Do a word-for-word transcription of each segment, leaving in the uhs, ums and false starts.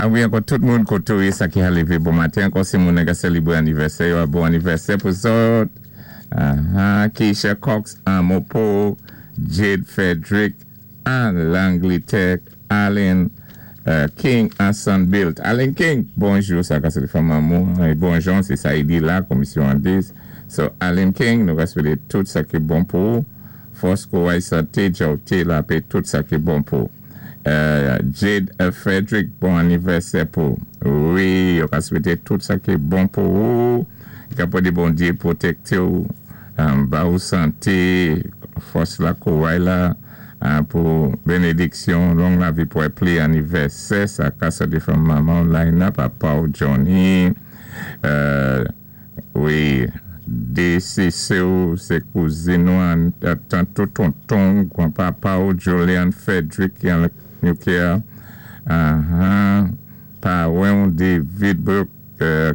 A wi, ankò tout moun koté ou sa ki ka lévé bon maten, ankò sé moun ka sélébwé anivèsè, bon anivèsè pou zòt. Uh-huh. Keisha Cox an Mopo, Jade Frederick an Langletè, Allen uh, King an Sunbuilt. Allen King, bonjou, sa ka sé fanmi é bonjou, sé sa i di la, komisyon an dis. So, Allen King, nou ka swété tout sa ki bon pou fòs, kouway, santé, djòwté, lapè, tout sa ki bon pou. Uh, Jade Frederick, bon anivèsè pou. Wi, yo ka swété tout sa ki bon pou ou. Ka pwédé Bondyé pwotékté ou, um, ba ou santé, fòs la, kouway la, uh, pou bénédiksyon, long lavi pou pli anivèsè, sa ka sòti from manman Lina, papa ou Johnny, uh, wi, dé sé sè ou, sé kouzin ou, tant ou tonton, gwanpapa ou Julian Frederick, ki an U K, uh-huh, pawen ou David Brooke,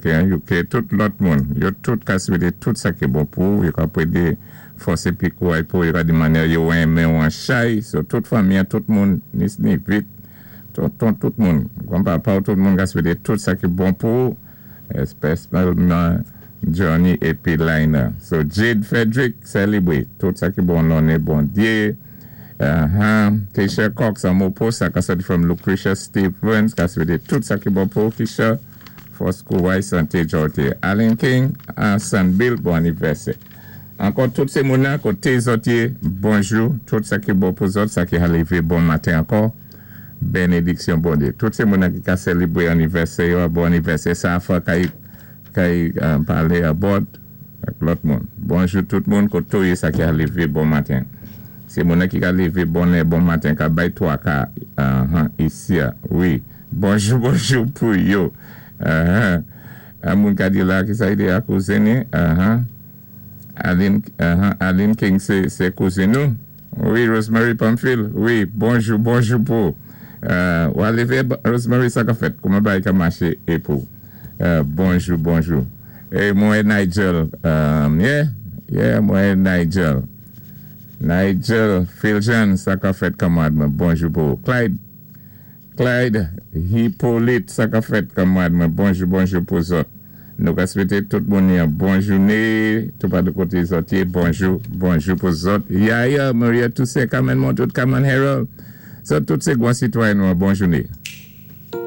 ki an U K, tout lòt moun, yo tout ka swété tout sa ki bon pou, yo ka pwédé fòs épi kouway pou, yo ka di mannyè yo renmen ou an chay, so tout fanmi, tout moun, nis ni vit, tonton, tout moun, gwanpapa ou tout moun ka swété tout sa ki bon pou, espèsyalman Johnny épi Lina. So Jade Frederick, sélébwé tout sa ki bon lanné Bondyé. Uh-huh. Keisha Cox an Mopo, sa ka sòti from Lucretia Stevens, ka swété tout sa ki bon pou Keisha, fòs, kouway, santé, djòwté. Allen King, an Sanbill, bon anivèsè. Ankò tout sé moun koté zòt yé, bonjou, tout sa ki bon pou zòt, sa ki ka lévé bon maten ankò, bénédiksyon Bondyé. Tout sé moun ki ka sélébwé anivèsè, bon anivèsè, sa fwa kay, kay um, palé abòd ak lòt moun. Bonjou tout moun koté ou yé sa ki ka lévé bon maten. Sé moun ki ka lévé bon bon maten, ka bay twa ka uh, isi, wi. Bonjou, bonjou pou yo. Uh-huh. An moun ka di la ki sa i di a kouzin ni. Uh-huh. Aline, uh-huh. Aline King sé, sé kouzin nou. Wi, Rosemary Pamphile. Wi, bonjou, bonjou pou. Uh, ou a lévé, Rosemary, sa ka fèt? Kouman bagay ka maché é pou? Uh, bonjou, bonjou. É mwen Nigel. Um, yeah, yeah, mwen Nigel. Nigel Philjean, sa ka fèt kanmwad mwen? Bonjou pou. Clyde, Clyde Hippolyte, sa ka fèt kanmwad mwen? Bonjou, bonjou pou zòt. Nou ka swété tout moun yon bon jouné, tout pa de koté zòt yé, bonjou, bonjou pou zòt. Yaya, Maria Toussaint, Carmen Montout, Carmen Harold. So, tout sé gwan sitwayen nou, bon jouné.